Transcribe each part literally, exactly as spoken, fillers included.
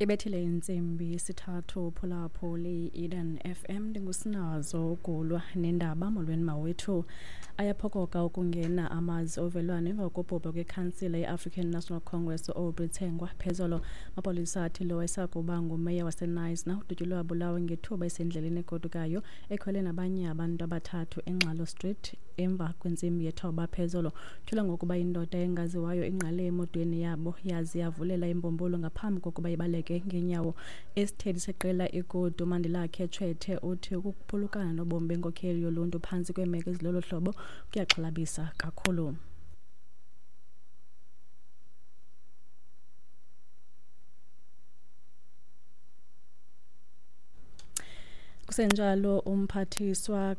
Ibethile intsimbi yesithathu phulaphuli Eden F M, ndingusinazo ugulwa nendaba. Molweni mawethu. Ayaphokoka ukungena amazwi ovelwano emva kokubhubha kwekhansila ye-African National Congress u-Aubrey Tsengwa phezolo. Amapolisa athi lo wayesakuba ngumeya waseKnysna udutyulwe wabulawa ngethuba esendleleni egodukayo ekhwele nabanye abantu abathathu eNgxalo Street emva kwentsimbi yethoba phezolo. Tyholwa ngokuba indoda engaziwayo ingqale emotweni yabo yaze yavulela imbumbulu ngaphambi kokuba ibaleke ngenyawo. Isithethi seqela iGood uMandilakhe Tshwete uthi ukuphulukana nobomi benkokheli yoluntu phantsi kweemeko ezilolo hlobo kuyaxhalabisa kakhulu. Kusenjalo, umphathiswa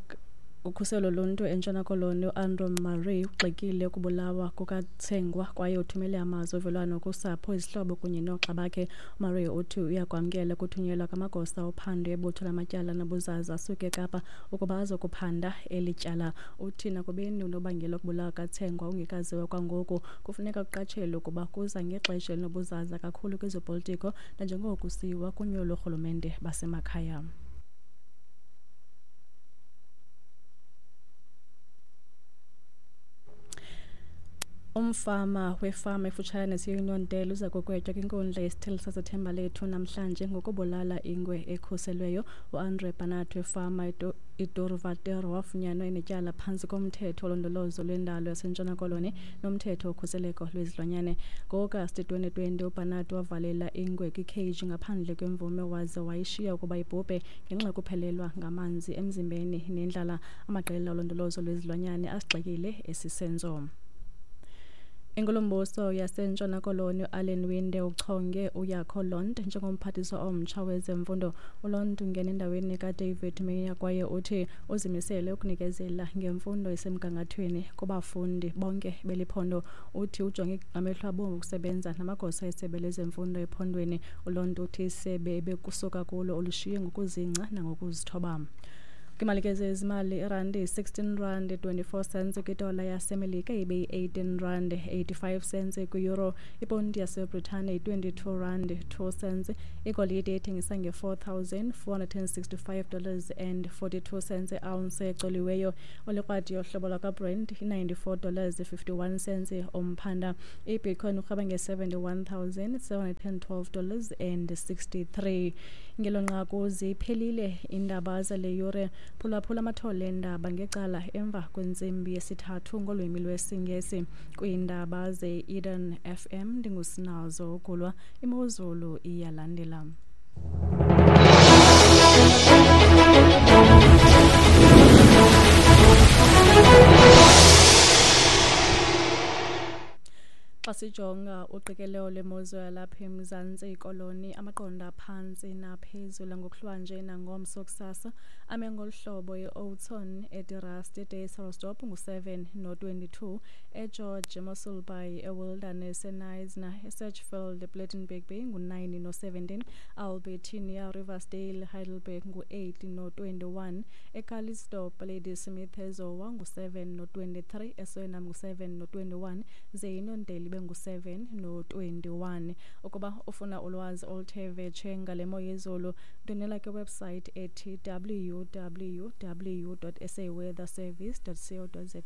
ukhuselo loluntu eNtshona Koloni uAndrew Murray ugxekile ukubulawa kukaTsengwa kwaye uthumele amazwi ovelwano kusapho, izihlobo kunye noogxa bakhe. UMurray uthi uyakwamkela ukuthunyelwa kwamagosa ophando ebutho lamatyala nobuzaza asuke eKapa ukuba azokuphanda eli tyala. Uthi nakubeni unobangela wokubulawa kukaTsengwa ungekaziwa kwangoku, kufuneka kuqatshelwe ukuba kuza ngexesha elinobuzaza kakhulu kwezopolitiko nanjengoko kusiyiwa kunyulo loorhulumente basemakhaya. Umfama wefama efutshane neseUniondale uza kugwetywa kwinkundla yesithili saseThembalethu namhlanje ngokubulala ingwe ekhuselweyo. UAndre Barnard wefama iDurvater wafunyanwa enetyala phantsi komthetho wolondolozo lwendalo yaseNtshona Koloni nomthetho wokhuseleko lwezilwanyane. Ngo-Agasti twenty twenty uBarnard wavalela ingwe kwikheji ngaphandle kwemvume waze wayishiya ukuba ibhubhe ngenxa yokuphelelwa ngamanzi emzimbeni nendlala. Amaqela olondolozo lwezilwanyane asigxekile esi senzo. Inkulumbuso yaseNtshona Koloni uAllan Winde uchonge uJaco Londt njengomphathiswa omtsha wezemfundo. ULondt ungena endaweni kaDavid Meyer kwaye uthi uzimisele ukunikezela ngemfundo esemgangathweni kubafundi bonke beli phondo. Uthi ujonge ngamehlo abomvu ukusebenza namagosa esebe lezemfundo ephondweni. ULondt uthi isebe ebekusuka kulo ulishiye ngokuzingca nangokuzithoba. Kwimali ke zezimali, irandi yi-sixteen rand twenty-four cents kwidola yaseMelika, ibe yi-eighteen rand eighty-five cents kwi-euro. Iponti yaseBritane yi-twenty-two rand two cents. Igolide ithengisa nge-four thousand four hundred and sixty-five dollars and forty-two cents i-ounce ecoliweyo. Olikrwadi yohlobo lwakwaBrent yi-ninety-four dollars fifty-one cents umphanda. IBitcoin urhweba nge-seventy-one thousand seven hundred and twelve dollars and sixty-three. Ngelo nqaku ziphelile iindaba zale yure. Phulaphula amathole eendaba ngecala emva kwentsimbi yesithathu ngolwimi lwesiNgesi. Kwiindaba ze-Eden F M ndingusinazo ugulwa. Imozulu iyalandela. Xa sijonga uqikelelo lwemozulu yalapha eMzantsi Koloni, amaqondo aphantsi naphezulu ngokuhlwanje nangomso kusasa ame ngolu hlobo: eOughton, eDerust, eDeyselsdorp ngu-seven no-twenty-two, eGeorge, eMossel Bay, eWilderness, eKnysna, eSedgefield, ePlettenberg Bay ngu-nine no-seventeen, Albertinia, Riversdale, Heidelberg ngu-eight no-twenty-one, eCalitzdorp, Ladysmith, eZowa ngu-seven no-twenty-three, eSwellnum ngu-seven no-twenty-one, ze iNondeli ibe ngu-seven no-twenty-one. Ukuba ufuna ulwazi oluthe vetshe ngale mo yezulu, ndwendwela kwiwebsite ethi w w w dot s a weather service dot co dot za.